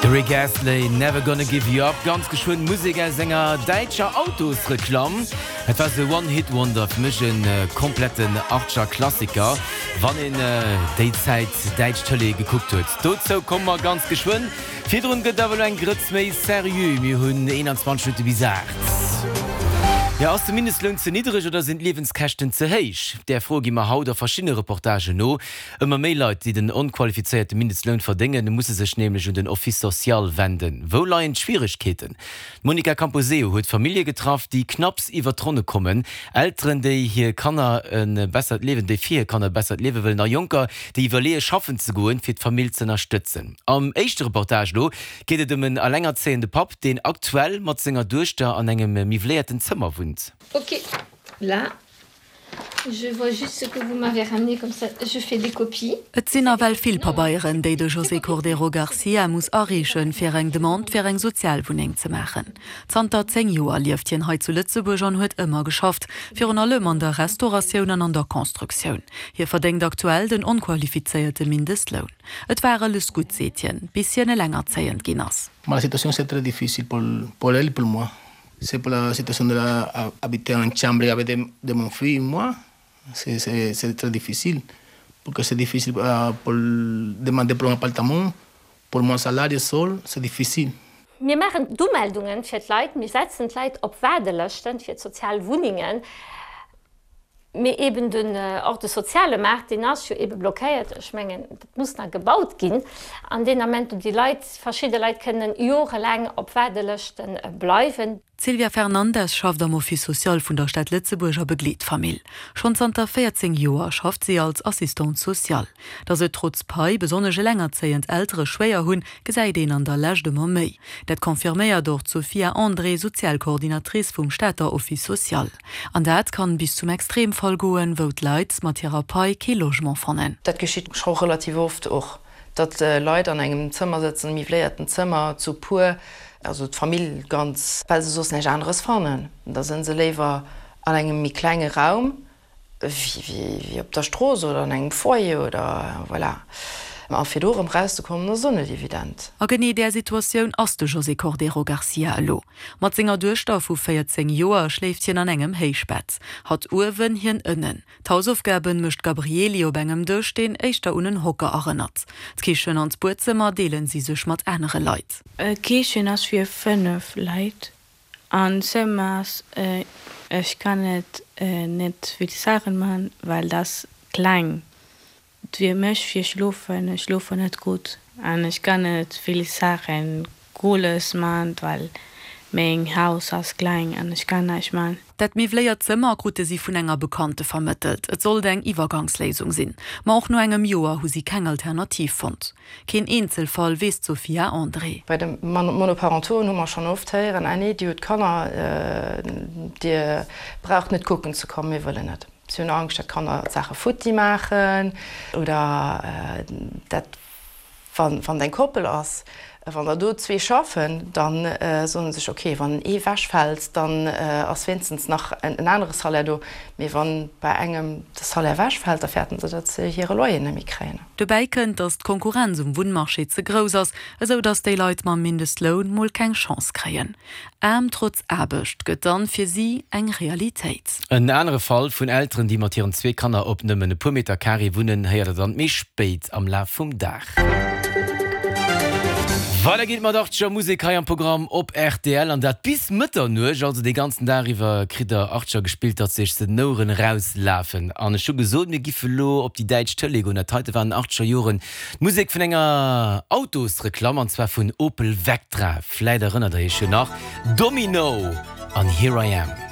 De Rick Astley, Never Gonna Give You Up, ganz geschwënn Musek aus enger däitscher Autosreklamm. Et war sou One Hit Wonder, fir mech e kompletten Archer Klassiker, wann een déi Zäit däitsch Tëlee gekuckt huet. Dozou komme mer ganz geschwënn. Virdrun gëtt awer elo eng Grëtz méi seriö, mir hunn 21 Minutte bis 8. Jo, ass de Mindestloun ze niddreg oder sinn d'Liewenskäschten ze héich? Där Fro gi mer haut a verschiddene Reportagen no. Ëmmer méi Leit, déi den onqualifizéierte Mindestloun verdéngen, musse sech nämlech un den Office social wenden. Wou leien d'Schwieregkeeten? D'Monica Camposeo huet Famillje getraff, déi knapps iwwer d'Ronne kommen, Elteren, déi hir Kanner e bessert Liewen, déi fir hir Kanner e bessert Liewe wëllen a Jonker, déi iwwerleeë schaffen ze goen, fir d'Famill z'ënnerstëtzen. Am éischte Reportage elo geet et ëm en elengerzéiende Papp, deen aktuell mat senger Duechter an engem miwwléierten Zëmmer wunnt. Ok, là Je vois juste ce que vous m'avez ramené, comme ça je fais des copies. Et sinn nawell vill Pabeieren, déi de José Cordeiro Garcia muss areechen, fir eng Demande fir eng Sozialwunneng ze maachen. Zanter 10 Joer lieft hien hei zu Lëtzebuerg an huet ëmmer geschafft, virun allem an der Restauratioun an an der Constructioun. Hie verdéngt aktuell den onqualifizéierte Mindestloun. Et war alles gutt, seet hien, bis hien elengerzéiend ginn ass. Ma la situación c'est très difficile pour pour elle et pour moi. C'est pour la situation de la habiter en chambre avec de, de mon fille et moi, c'est, c'est, c'est très difficile. Porque c'est difficile uh, pour demander pour un appartement, pour mon salaire seul, c'est difficile. Mir maachen d'Umeldungen fir d'Leit, mir setzen d'Leit op Waardelëschten fir d'sozial Wunnengen. Mee eben den, och de soziale Maart, deen ass jo ebe blockéiert. Ech mengen, dat muss nach gebaut ginn. An deen Ament, wou déi Leit, verschidde Leit kënnen jorelaang op Waardelëschte bleiwen. D'Sylvia Fernandes schafft am Office social vun der Stad Lëtzebuerg a begleet d'Famill. Schonn zanter 14 Joer schafft si als Assistante sociale. Datt et trotz Pai besonnesch elengerzéiend Eltere schwéier hunn, gesäit een an der Lescht ëmmer méi. Dat confirméiert och d'Sophia André, Sozialcoordinatrice vum Stater Office social. An dat kann bis zum Extremfall goen, wou d'Leit mat hirer Pai kee Logement fannen. Dat geschitt scho relativ oft och, datt Leit an engem Zëmmer sëtzen, miwwléierten Zëmmer, zu puer, also d'Famill ganz, well se soss näischt aneres fannen. Da sënn se léiwer an engem méi klenge Raum wéi op der Strooss oder an engem Foyer oder voilà. A fir do erëm rauszekommen, ass och net evident. A genee där Situatioun ass de José Cordeiro Garcia elo. Mat senger Duechter vu 14 Joer schléift hien an engem Héichbett. Hatt uewen, hien ënnen. D'Hausaufgaben mécht d'Gabrieli op engem Dësch, deen éischter un en Hocker erënnert. D'Kichen an d'Buedzëmmer deelen si sech mat anere Leit. D'Kichen ass fir 5 Leit an d'Zëmmer ass, ech kann et net vill Saachen man, well dat ass kleng. Et wier mech fir schlofen, ech schlofen net gutt an ech kann net vill Saachen Cooles man, well meng Haus ass kleng an ech kann näischt man. Dat miwwléiert Zëmmer krute si vun enger Bekannte vermëttelt. Et sollt eng Iwwergangsléisung sinn. Ma och no engem Joer hu si keng Alternativ fonnt. Keen Eenzelfall, weess d'Sophia André. Bei de Monoparentoen hu mer schonn oft héieren, Ah nee, dir hutt Kanner, dir braucht net kucken ze kommen, mir wëllen net. Si hunn Angscht, datt d'Kanner d'Saache futti maachen oder dat, wann et eng Koppel ass, wann der do zwee schaffen, da soen se sech, ok, wann ee wechfält, dann ass wéinstens nach en anere Salaire do, mee wann bei engem de Salaire wechfält, da fäerten se, datt se hire Loyer net méi kréien. Dobäi kënnt, datt d'Konkurrenz um Wunnmarché ze grouss ass, esou datt déi Leit mam Mindestloun mol keng Chance kréien. Aarm trotz Aarbecht gëtt dann fir si eng Realitéit. En anere Fall vun Elteren, déi mat hiren zwee Kanner op nëmmen e puer Meter Carré wunnen, héiert der dann méi spéit am Laf vum Dag. Weider geet et mat Archer Musek hei am Programm op rtl an dat bis Mëtternuecht. Also dee ganzen Dag iwwer kritt der Archer gespillt, datt sech se den Oueren erauslafen. An ech hu gesot, mir giffe lo op déi däitsch Tëlee goen. Dat heite waren Archer Joren. D'Musek vun enger Autosreklamm, an zwar vun Opel Vectra. Vläit erënnert der iech jo nach, Domino an Here I Am.